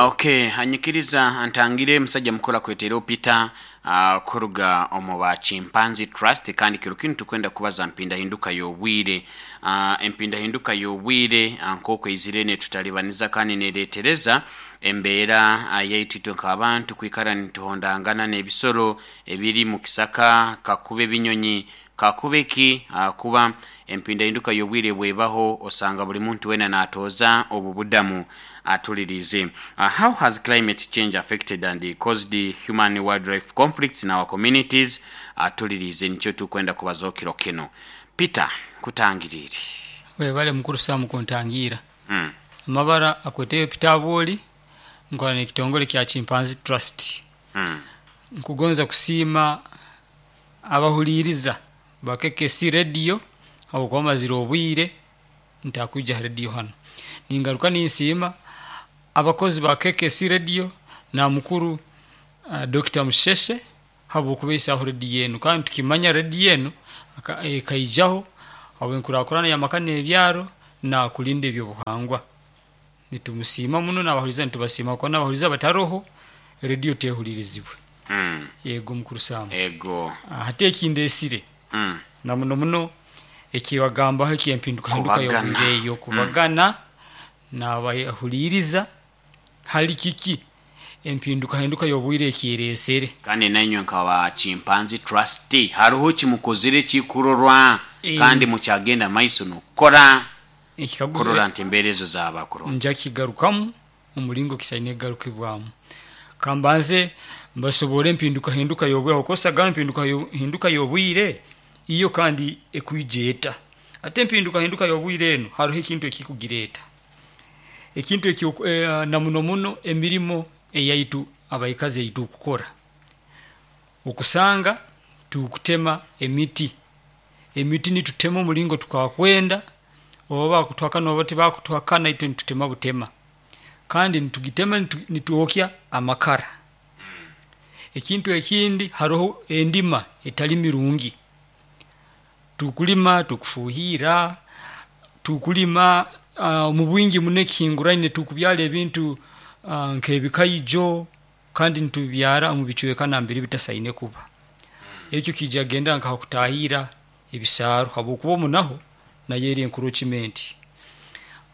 Okay, anyikiriza ntangire musajja mukuru akwetereho Peter, kuruga omu ba Chimpanzee Trust, kandi kiro kinu tukwenda kubaza mpindahinduka y'obwire. Empindahinduka y'obwire nk'oku eizire netutalibaniza kandi neretereza embeera yaitu itwe nk'abantu kwikara nituhondangana n'ebisoro ebiri mu kisaka, kakuba ebinyonyi, kakuba eki, ahakuba empindahinduka y'obwire bwebaho osanga buli muntu weena natooza obu budamu atuliriize. How has climate change affected and caused human wildlife conflicts in our communities? Atuliriize nikyo tukwenda kubazaho kiro kinu. Peter, nkutangiriire. Webale mukuru Sam kuntangiira. Amabara akweteyo Peter Abwoli, nkola n'ekitongole kya Chimpanzee Trust. Nkugonza kusiima abahuliiriza ba KKC Radio habwokuba mazire obwire ntakwija ha radio hanu. Ningaruka ninsiima abakozi ba KKC Radio na mukuru Dokita Musheshe habw'okubaisaho radio enu kandi tukimanya radio enu ekaijaho habw'enkurakurana y'amaka n'ebyaro nakulinda eby'obuhangwa. Nitumusiima muno n'abahuliiriza nitubasiima habwokuba n'abahuliiriza bataroho radio tehuliirizibwe. Ego mukuru Sam. Ego. Hati ekindesire na muno muno ekibagambaho eky'empindukahinduka Kubagana. y'obwire eyo kubagana n'abahuliiriza hali kiki empindukahinduka y'obwire ekyeresere. Kandi nainywe nka Chimpanzee Trust haroho kimukozire kikurorwa kandi mukyagenda maiso n'okukora Ekikaguzo kurora nti embeera ezo zaaba kurungi. Nja kigarukamu omulingo kisaine kugarukibwamu. Kambanze mbasoborre empindukahinduka y'obwire habwokuba osanga empindukahinduka y'obwire iyo kandi ekwija eta. Hati empindukahinduka y'obwire enu haroho ekintu ekikugireeta. Ekintu ekyo na muno muno emirimo eyaitu abaikazi eitukukora. Okusanga tukutema emiti, emiti nitutema omulingo tukakwenda oba bakutuhakana oba tibakutuhakana itwe nitutema butema. Kandi nitugitema nitwokya amakara. Ekintu ekindi haroho endima etali mirungi. Tukulima tukufuhiira, tukulima omu bwingi muno ekihinguraine tukubyara ebintu nk'ebikaijo kandi nitubibyara omu bicweka nambere bitasaine kuba. Ekyo kiija kugenda nka hakutahiira ebisaaru habwokuba omu naho nayo eri encroachment.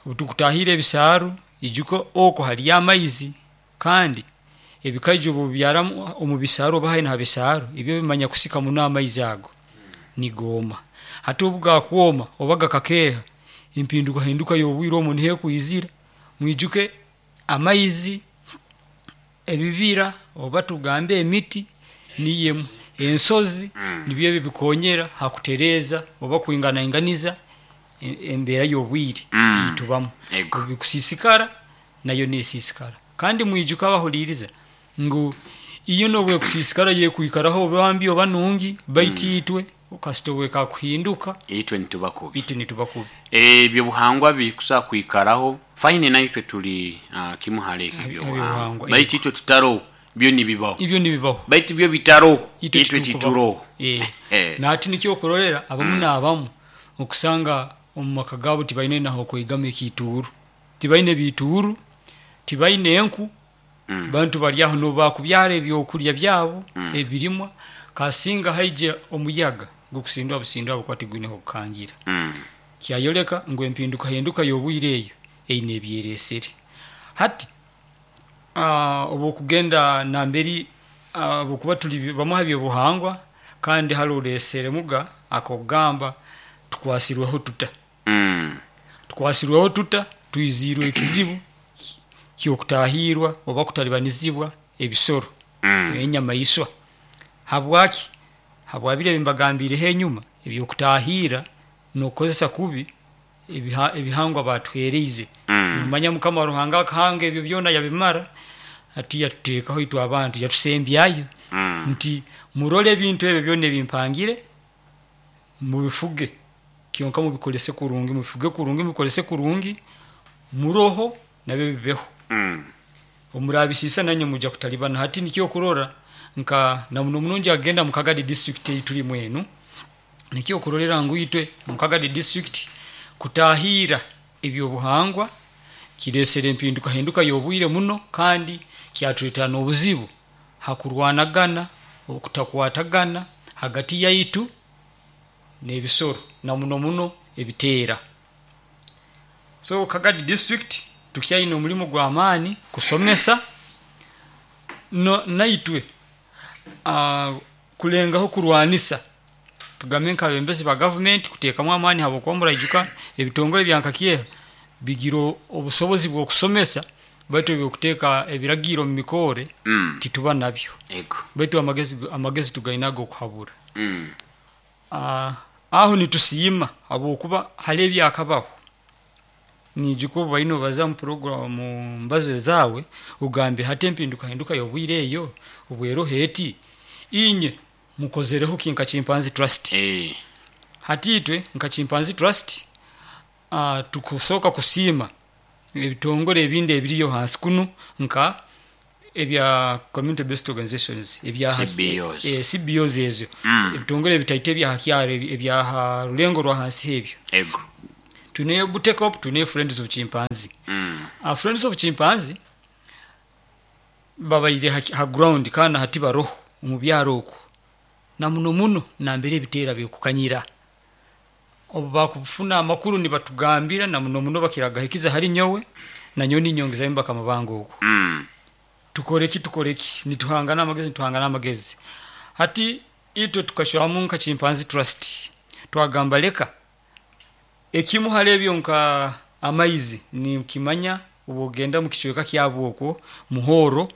Obu tukutahiira ebisaaru, ijuka oku haliyo amaizi kandi ebikaijo obu obibyara omu bisaaru oba haihi ha bisaaru, ibyo bimanya kusika muno amaizi ago, nigooma. Hati obu gakwoma oba gakakeeha, empindukahinduka y'obwire omu niho ekwizira, mwijuke amaizi, ebibira oba tugambe emiti niyo emu, ensozi nibyo ebi ebikonyera hakutereeza oba kwinganainganiza embeera y'obwire eitubamu. Obu bikusiisikara, nayo nesiisikara. Kandi mwijuke abahuliiriza ngu iyo nobu ekusiisikara yo ekwikaraho oba mbi oba nungi baitu itwe kasita obu ekakuhinduka Itwe nituba kubi. Itwe nituba kubi. Ebyobuhangwa bikusobola kwikaraho fine, naitwe tuli kimu hali ebyo ebyobuhangwa, Ebyobuhangwa, baitu itwe tutaroho byo nibibaho. Ibyo nibibaho. Baitu byo bitaroho Itwe itwe titukubaho. tituroho. Nahati nikyo okurorera abamu n'abamu okusanga omu maka gaabo tibaine nahokwegama ekiituuru, tibaine biituuru, tibaine enku, bantu bari aho n'obu bakubyara ebyokurya byabo ebirimwa, kasinga haija omuyaga gukusindwa busindwa habwokuba tigwine hokukangira. Kyayoleka ngu empindukahinduka y'obwire eyo eine ebyeresere. Hati obu okugenda nambere habwokuba tuli bamu haby'obuhangwa kandi hali oleesere muga ak'okugamba tukwasirweho tuta. Tukwasirweho tuta? Twiziirwe ekizibu ky'okutahiirwa oba kutalibanizibwa ebisoro, enyamaiswa. Habwaki? Habwa biri ebi mbagambiireho enyuma eby'okutahiira n'okukozesa kubi ebihangwa baatuheeriize. Nomanya Mukama Ruhanga akahanga ebyo byona yabimara, hati yatuteekaho itwe abantu yatusembyayo nti murole ebintu ebyo byona ebi mpangire mubifuge kyonka mubikolese kurungi, mubifuge kurungi, mubikolese kurungi, muroho nabyo bibeho. Obu muraabisiisa nainywe nimwija kutalibana. Hati nikyo okurora nka na muno muno nija kugenda mu Kagadi district ei turimu enu, nikyo okurorera ngu itwe omu Kagadi district kutahiira eby'obuhangwa Kireesere empindukahinduka y'obwire muno, kandi kyatuleetera n'obuzibu ha kurwanagana, okutakwatagana hagati yaitu n'ebisoro, na muno muno ebiteera. So Kagadi district tukyaine omulimo gw'amaani kusomesa naitwe kulengaho kurwanisa, tugambe nk'abebembezi ba gavumenti kuteekamu amaani habwokuba muraijuka ebitongore bya nka KIHA bigira obusobozi bw'okusomesa, baitu eby'okuteeka ebiragiro mu mikore tituba nabyo. Baitu amagezi tugaine ag'okuhabura. Aho nitusiima habwokuba hali ebyakabaho, niijuka obu obaire nobaza mu program mu mbazo zaawe, ogambire hati empindukahinduka y'obwire eyo obu eroho eti, inywe mukozereho ki nka Chimpanzee Trust? Hati itwe nka Chimpanzee Trust tukusooka kusiima ebitongore ebindi ebiriyo hansi kunu nka ebya community based organizations, ebya CBOs. CBOs ezo, ebitongore ebitaito ebya ha kyaro, ebya ha rulengo rwa hansi ebyo. Twineyo Butekop, twineyo Friends of Chimpanzee. Friends of Chimpanzee babaire ha ground kandi na hati baroho omu byaro oku, na muno muno nambere ebiteera bikukanyira. Obu bakufuna amakuru nibatugambira, na muno muno bakira kugahikiza hali nyowe, nanyowe ninyongezayo mubakama bange oku. Tukore ki, tukore ki, nituhangana amagezi, nituhangana amagezi. Hati itwe tukacwamu nka Chimpanzee Trust, twagamba leka ekimu hali ebyo nka amaizi, ninkimanya obu okugenda mu kicweka kyabu okwo Muhoro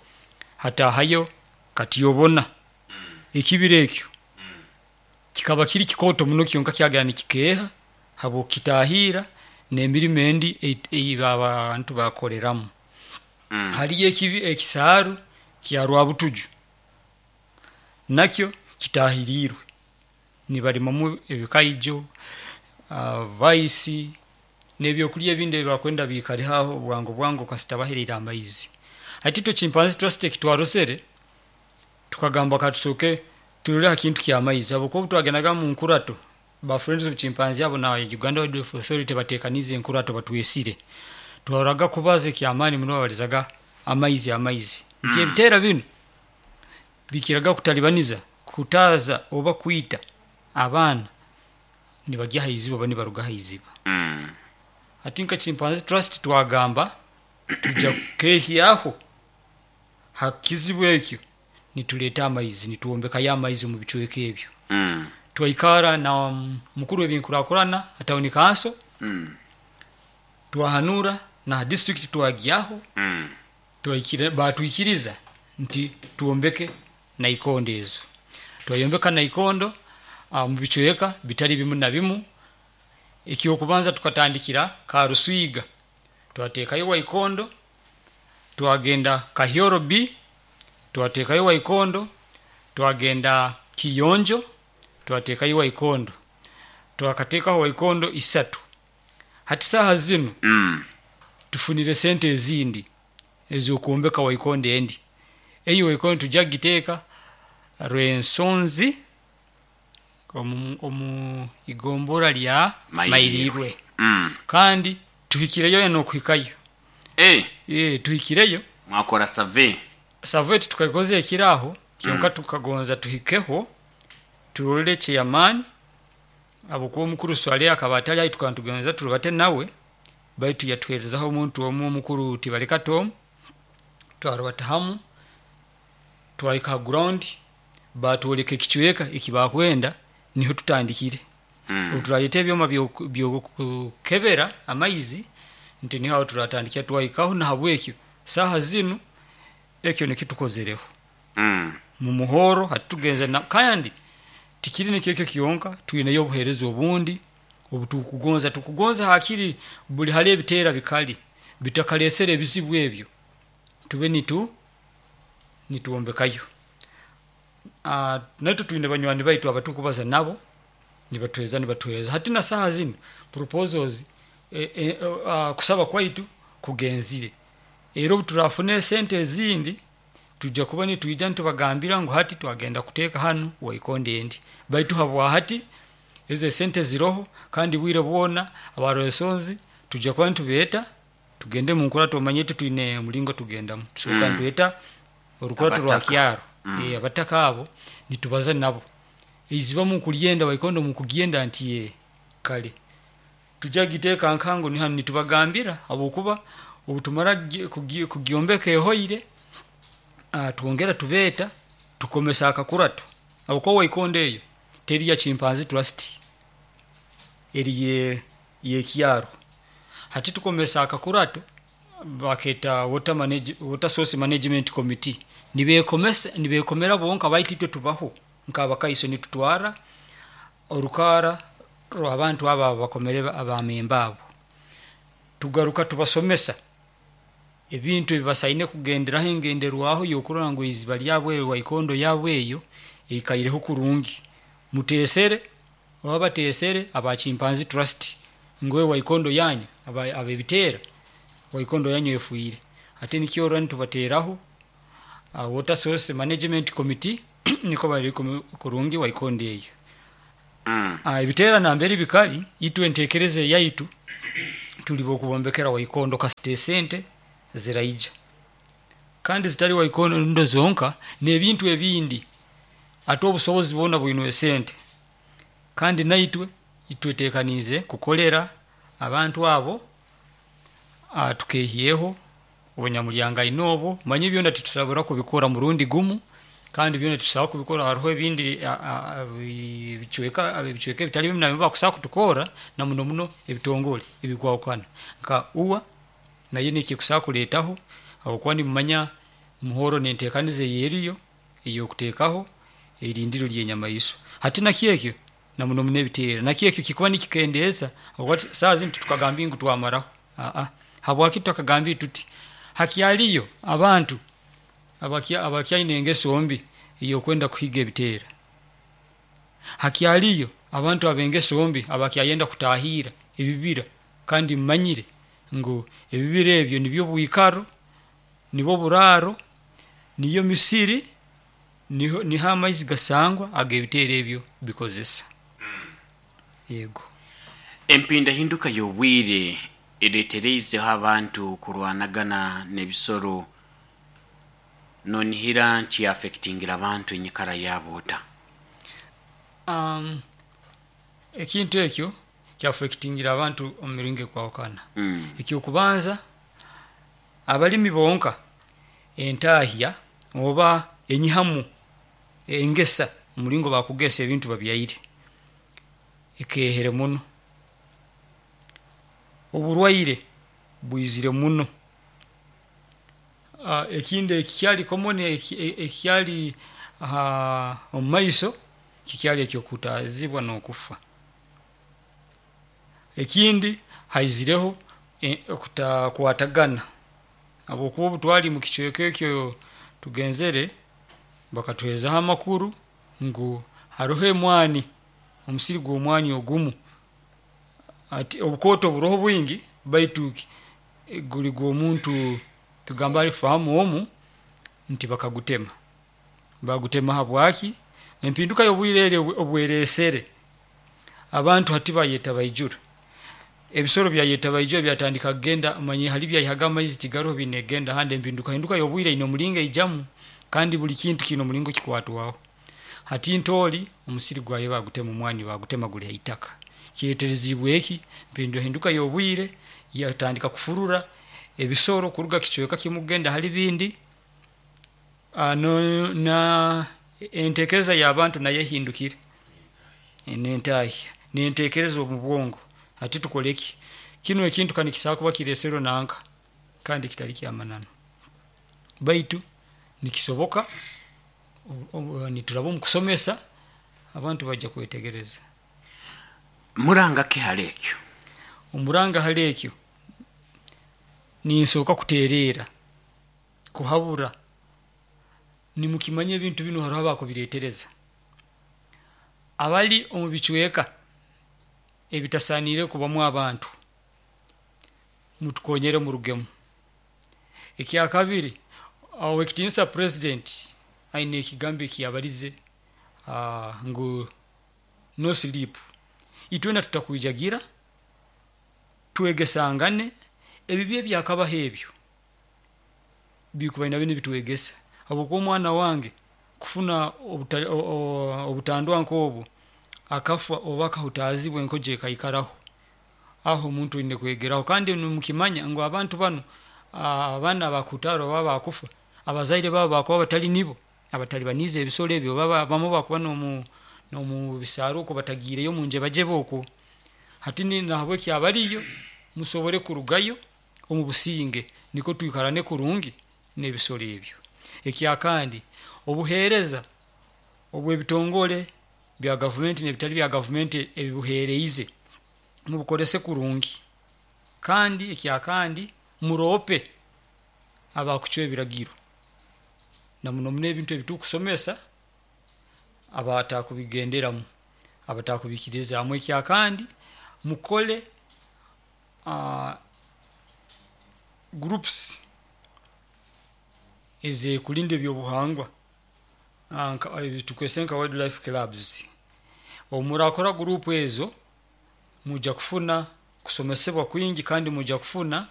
hataahayo Katyobona, ekibira ekyo kikaba kiri kikooto muno kyonka kyagenda nikikeeha habw'okukitaahiira n'emirimo endi ei abantu bakoleramu. Haliyo ekisaaru kya Rwabutuju, nakyo kitaahiriirwe, nibalimamu ebikaijo, vaisi, n'ebyokurya ebindi ebi bakwenda biikareho aho bwangu bwangu kasita bahererre amaizi. Hati itwe Chimpanzee Trust eki twarozere, tukagamba katusooke turole ha kintu ky'amaizi habwokuba obu twagendaga mu nkurato, ba Friends of Chimpanzee abo na Uganda Wildlife Authority bateekaniize enkurato batwesire, twaroraga kubaza eky'amaani muno babalizaga amaizi amaizi, nti ebiteera binu bikiraga kutalibaniza, kuhutaaza oba kwita abaana nibagya ha iziba oba nibaruga ha iziba. Hati nka Chimpanzee Trust twagamba twija kukeehyaho ha kizibu ekyo nitureeta amaizi, nitwombekayo amaizi omu bicweka ebyo. Twaikara na mukuru w'ebyenkurakurana ha town council, twahanuura na ha district twagyaho, baatwikiriza nti twombeke naikondo ezo. Twayombeka naikondo mu bicweka bitari bimu na bimu. Eky'okubanza tukatandikira Karuswiga, twateekayo waikondo, twagenda Kahyoro B, twateekayo waikondo, twagenda Kiyonjo, twateekayo waikondo. Twakateekaho waikondo isatu. Hati saaha zinu tufunire sente ezindi ez'okwombeka waikondo endi. Eyo waikondo nitwija kugiteeka Rwensonzi omu igombora lya Mairirwe. Kandi tuhikireyo n'okuhikayo. Tuhikireyo. Mwakora survey? Survey titukagikoze ekiro aho, kyonka tukagonza tuhikeho turole chairman, habwokuba omukuru Swaleh akaba atali haihi tukaba nitugonza turubate nawe, baitu yatuheerezaho omuntu omu omukuru Tibaleka Tom, twarubata hamu, twahika ha ground, baatwoleka ekicweka eki bakwenda, niho tutandikire. Obu turareeta ebyoma by'okukebera amaizi, nti niho aho turatandikira twahikaho, nahabwekyo saaha zinu ekyo nikyo tukozereho. Mu Muhoro hati tugenzere, kandi tikiri nikyo ekyo kyonka, twineyo obuheereza obundi obu tukugonza, tukugonza hakiri buli hali ebiteera bikali bitakaleesere ebizibu ebyo, tube nitwombekayo. Naitwe twine banywani baitu abatukubaza nabo, nibatuheereza nibatuheereza. Hati na saaha zinu proposals, kusaba kwaitu kugenzire. Era obu turafuna esente ezindi, twija kuba nitwija nitubagambira ngu hati twagenda kuteeka hanu waikondo endi. Baitu habwa hati, ezo esente ziroho kandi bwire bwona aba Rwensonzi twija kuba nitubeeta. Tugende mu nkurato, omanye twine omulingo tugendamu, tusooka nitweta orukurato rwa Abataka. kyaro. Abataka abo nitubaza nabo, eiziba mukulyenda, waikondo mukugyenda, nti ye kale tujja giteeka nkango ni hanu, nitubagambira habwokuba obutumara kugyombeka ehoire, twongera tubeeta tukomesa akakurato, habwokuba waikondo eyo teri ya Chimpanzee Trust, eri yekyaro. Hati tukomesa akakurato baketa water source management committee, nibekomesa nibekomera bonka, baitu itwe tubaho nk'abakaiso, nitutwara orukara rw'abantu abo abakomere abamemba abo, tugaruka tubasomesa ebintu ebibasaine kugenderaho, engenderwaho y'okurora ngu eiziba lyabo eryo, waikondo yabo eyo eikaireho kurungi. Muteesere oba bateesere aba Chimpanzee Trust ngu waikondo yanyu abebiteera, waikondo yanyu efiire. Hati nikyo orora nitubateeraho water source management committee, niko bari kurungi waikondo eyo. Ebiteera nambere bikali, itwe enteekereza eyaitu tuli bokubombekera waikondo kasita esente ziraija, kandi zitali waikondo zonka n'ebintu ebindi. Ate obusobozi bwona bwine esente, kandi naitwe twetekaniize kukolera abantu abo, tukehyeho obunyamulyangaine obwo. Manye byona titusobora kubikora murundi gumu, kandi byona titusobora kubikora, hariho ebindi ebicweka ebitali bimu nabyo bakusobola kutukora, na muno muno ebitongole ebikwahukana nka UWA nayo nekikusobola kuleetaho, habwokuba nimumanya muhoro nentekaniza eyeriyo eyokutekaho erindiro lyenyamaiswa. Hati nakyekyo na muno muno ebiteera nakyekyo kikuba nikikendeeza, habwokuba saaha zinu titukagambire ngu twamaraho, habwaki tutakagambire tuti, hakyaliyo abantu abakyaine engeso mbi eyokwenda kuhiga ebiteera, hakyaliyo abantu abengeso mbi abakyayenda kutahiira ebibira, kandi mumanyire ngu ebibira ebyo nibyo bwikaro, nibwo buraaro, niyo misiri, niho amaizi gasangwa agebiteera ebyo bikozesa. Yego. Empindahinduka y'obwire ereetereizeho abantu kurwanagana n'ebisoro, nonihira nti affectingira abantu enyikara yaabo ota? Ekintu ekyo kyaffectingira abantu omu miringo ekwahukana. Ekyokubanza, abalimi bonka entahya oba enyihamu engesa, omulingo bakugesa ebintu babyaire ekehere muno, oburwaire bwizire muno. Ekindi ekikyali common, ekikyali omumaiso kikyali ekyokuhutazibwa nokufa. Ekindi haizireho okutakwatagana, habwokuba obutwali mukicweka ekyo tugenzere bakatuherezaho amakuru ngu haroho emwaani, omusiri gwomwaani ogumu, hati obukooto buroho bwingi baitu guri gwomuntu tugambe ali farmer omu, nti bakagutema, bagutema habwaaki, empinduka yobwiire eri obweresere abantu hati bayeta baijura, ebisoro byayeta baijura byatandika kugenda, omanyire hali byayihaga amaizi tigaroho biine kugenda ahandi, empinduka yobwiire eyine omuringo eijamu, kandi buri kintu kiine omuringo kikwatwaho. Hati ntoori omusiri gwawe bagutema, omwaani bagutema guri haitaka, kireterezibwe ki, empindahinduka yobwiire yatandika kufurura ebisoro kuruga kicweeka kimu kugenda hari bindi, entekereza yabantu nayo ehindukire, nentahya, nentekereza omubwongo, hati tukore ki, kinu ekintu kanikisobola kuba kireserwe nanka kandi kitari kyamananu, baitu nikisoboka nituraba omukusomesa abantu baija kwetegereza. Muranga ki hali ekyo? Omuranga hali ekyo, ninsooka kutereera, kuhabura, nimukimanya ebintu binu haroho abakubiretereza, abari omubicweeka ebitasaaniire kubamu abantu, mutukonyere murugemu. Ekyakabiri, owekitinisa president ayine ekigambo ekiyabarize ngu no sleep, itwena tutakwijagira, twegesangane. Ebibi ebyakabaho ebyo bikubaire nabyo nibitwegesa, habwokuba omwana wange kufuna obutandwa nk'obwo akafa oba akahutaazibwa enkojo ekaikaraho, aho omuntu oine kwegeraho. Kandi nimukimanya ngu abantu banu, abaana abakuhutaara oba abakufa, abazaire baabo bakuba batali nibo abatalibaniize ebisoro ebi, oba abamu bakuba nomu bisaaro okwo batagiireyo omunjebajebe okwo. Hati nahabweki abaliyo musobole kurugayo omu businge nikwo twikarane kurungi n'ebisoro ebyo. Ekyakandi, obuheereza obw'ebitongole bya gavumenti n'ebitali bya gavumenti ebibuheereize mubukozese kurungi, kandi ekyakandi muroope abakucwa ebiragiro, na muno muno ebintu ebitukusomesa abatakubigenderamu, abatakubiikirizaamu. Ekyakandi, mukole groups ez'okurinda ebyobuhangwa ezitukwesere nka wild life clubs, obu murakora group ezo, mwija kufuna kusomesebwa kwingi kandi mwija kufuna.